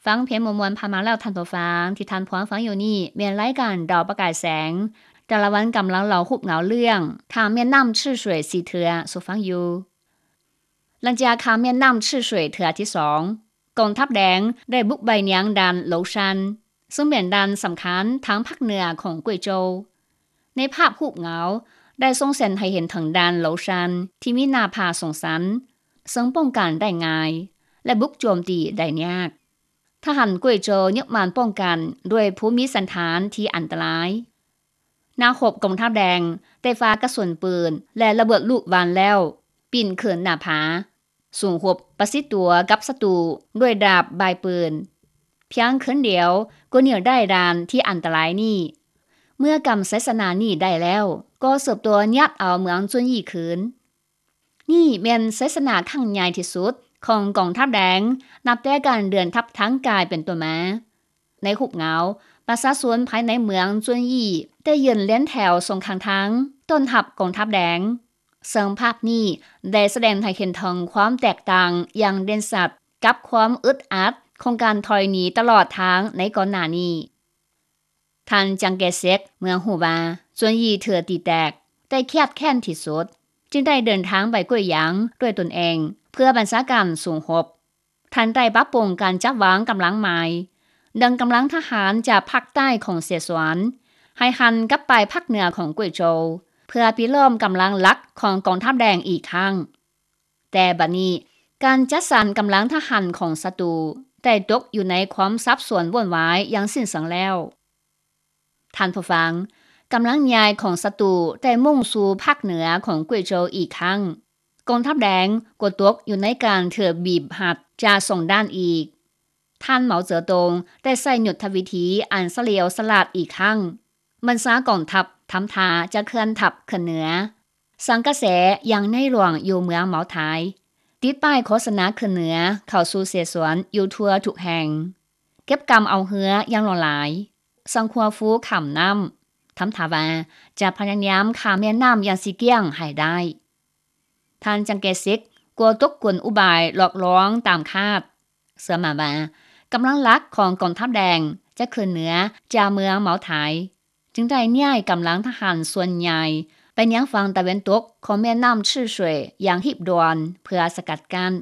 ຟັງເພງມ່ວນໆຜ່ານມາແລ້ວທ່ານຜູ້ຟັງ, ທີ່ທ່ານພວມຟັງຢູ່ນີ້ແມ່ນລາຍການດາວປະກາຍແສງ, ແຕ່ລະວັນກຳລັງເລົ່າຮູບເຫງົາເລື່ອງຂ້າມແມ່ນ້ຳຊື່ສວຍສີ່ເທື່ອສູ່ຟັງຢູ່. ຫຼັງຈາກຂ້າມແມ່ນ້ຳຊື່ສວຍເທື່ອທີສອງ, ກອງທັບແດງໄດ້ບຸກໄປຍັງດ່ານໂຫຼຊັນ, ເຊິ່ງແມ່ນດ່ານສຳຄັນທາງພາກເໜືອຂອງກວຍໂຈວ. ໃນພາບຮູບເຫງົາໄດ້ສົ່ງເສັນໃຫ້ເຫັນເຖິງດ່ານໂຫຼຊັນທີ່ມີໜ້າຜາສູງຊັນ, ເຊິ່ງປ້ອງກັນໄດ້ງ່າຍ ແລະ ບຸກໂຈມຕີໄດ້ຍາກ. ທະຫານກວຍໂຈຍຶກໝານປ້ອງກັນດ້ວຍພູມີສັນຖານທີ່ອັນຕະລາຍ. ນັກຮົບກອງທັບແດງໄດ້ຟາກະສຸນປືນ ແລະ ລະເບີດລູກຫວ່ານແລ້ວ, ປີນຂຶ້ນໜ້າຜາ, ສູ້ຮົບປະຊິດຕົວກັບສັດຕູດ້ວຍດາບບາຍປືນ. ພຽງຄືນດຽວກໍໜີໄດ້ດ່ານທີ່ອັນຕະລາຍນີ້. ເມື່ອກຳໄຊຊະນະນີ້ໄດ້ແລ້ວ, ກໍສືບຕໍ່ຍາດເອົາເມືອງຈຸນຢີ້ຄືນ. ນີ້ແມ່ນໄຊຊະນະຄັ້ງໃຫຍ່ທີ່ສຸດຂອງກອງທັບແດງ ນັບແຕ່ການເດີນທັບທາງກາຍເປັນຕົ້ນມາ. ໃນຮູບເຫງົາ, ປະຊາຊົນພາຍໃນເມືອງຈຸນຢີ້ໄດ້ຢືນລຽນແຖວສອງຂ້າງທາງ ຕ້ອນຮັບກອງທັບແດງ, ເຊິ່ງພາບນີ້ໄດ້ສະແດງໃຫ້ເຫັນເຖິງຄວາມແຕກຕ່າງຢ່າງເດັ່ນຊັດກັບຄວາມອຶດອັດຂອງການຖອຍໜີຕະຫຼອດທາງໃນກ່ອນໜ້ານີ້. ທ່ານ ຈາງ ເກເຊັກ ເມື່ອຮູ້ວ່າຈຸນຢີ້ຖືກຕີແຕກ ໄດ້ຄຽດແຄ້ນທີ່ສຸດ, ຈຶ່ງໄດ້ເດີນທາງໄປກວຍຢາງດ້ວຍຕົນເອງ ເພື່ອບັນຊາການສູ້ຮົບ. ທ່ານໄດ້ປັບປຸງການຈັດວາງກຳລັງໃໝ່, ດຶງກຳລັງທະຫານຈາກພາກໃຕ້ຂອງເຊຊວນ ໃຫ້ຫັນກັບໄປພາກເໜືອຂອງກວຍໂຈວ ເພື່ອປິດລ້ອມກຳລັງຫຼັກຂອງກອງທັບແດງອີກຄັ້ງ. ແຕ່ບັດນີ້, ການຈັດສັນກຳລັງທະຫານຂອງສັດຕູໄດ້ຕົກຢູ່ໃນຄວາມສັບສົນວຸ້ນວາຍຢ່າງສິ້ນເຊີງແລ້ວ. ທ່ານຜູ້ຟັງ, ກຳລັງໃຫຍ່ຂອງສັດຕູໄດ້ມຸ່ງສູ່ພາກເໜືອຂອງກວຍໂຈວອີກຄັ້ງ. ກອງທັບແດງກໍຕົກຢູ່ໃນການຖືກບີບຮັດຈາກສອງດ້ານອີກ. ທ່ານ ເໝົາເຈີຕົງ ໄດ້ໃຊ້ຍຸດທະວິທີອັນສະຫຼຽວສະຫຼາດອີກຄັ້ງ. ບັນຊາກອງທັບທຳທ່າຈະເຄື່ອນທັບຂຶ້ນເໜືອ, ສັງກະແສຍັງໃນຫຼວງຢູ່ເມືອງເໝົາທາຍ, ຕິດປ້າຍໂຄສະນາຂຶ້ນເໜືອເຂົ້າສູ່ເຊສວນຢູ່ທົ່ວທຸກແຫ່ງ, ເກັບກຳເອົາເຮືອຢ່າງຫຼວງຫຼາຍ, ສັງຂົວຟູຂ້າມນ້ຳ, ທຳທ່າວ່າຈະພະຍາຍາມຂ້າມແມ່ນ້ຳຢ່າງຊິກ້ຽງໃຫ້ໄດ້. ທ່ານ ຈັງເກຊິກ ກໍຕົກກົນອຸບາຍຫຼອກລວງຕາມຄາດ, ເຊື່ອໝັ້ນວ່າກຳລັງຫຼັກຂອງກອງທັບແດງຈະຂຶ້ນເໜືອຈາກເມືອງເໝົາທາຍ, ຈຶ່ງໄດ້ຍ້າຍກຳລັງທະຫານສ່ວນໃຫຍ່ໄປຍັງຝັ່ງຕາເວັນຕົກຂອງແມ່ນ້ຳຊື່ສວຍຢ່າງຮີບດ່ວນເພື່ອສະກັດກັ້ນ.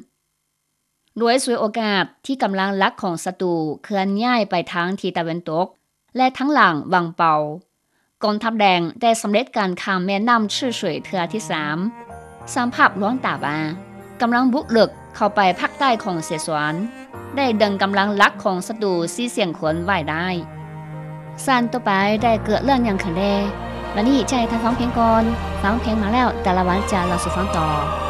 ໂດຍສວຍໂອກາດທີ່ກຳລັງຫຼັກຂອງສັດຕູເຄື່ອນຍ້າຍໄປທາງທິດຕາເວັນຕົກ ແລະ ທາງຫຼັງວັງເປົາ, ກອງທັບແດງໄດ້ສຳເລັດການຂ້າມແມ່ນ້ຳຊື່ສວຍເທື່ອທີສາມ. ສ້າງພາບລວງຕາວ່າ ກຳລັງບຸກເລິກເຂົ້າໄປພາກໃຕ້ຂອງເຊສວນ ໄດ້ດຶງກຳລັງຫຼັກຂອງສັດຕູສີ່ສຽງຄົນໄວ້ໄດ້. ຊັ້ນຕໍ່ໄປໄດ້ເກີດເລື່ອງຫຍັງຂຶ້ນແດ່? ບັດນີ້ຈະໃຫ້ທ່ານຟັງເພງກ່ອນ. ຟັງເພງມາແລ້ວ, ແຕ່ລະວັນຈະເລົ່າສູ່ຟັງຕໍ່.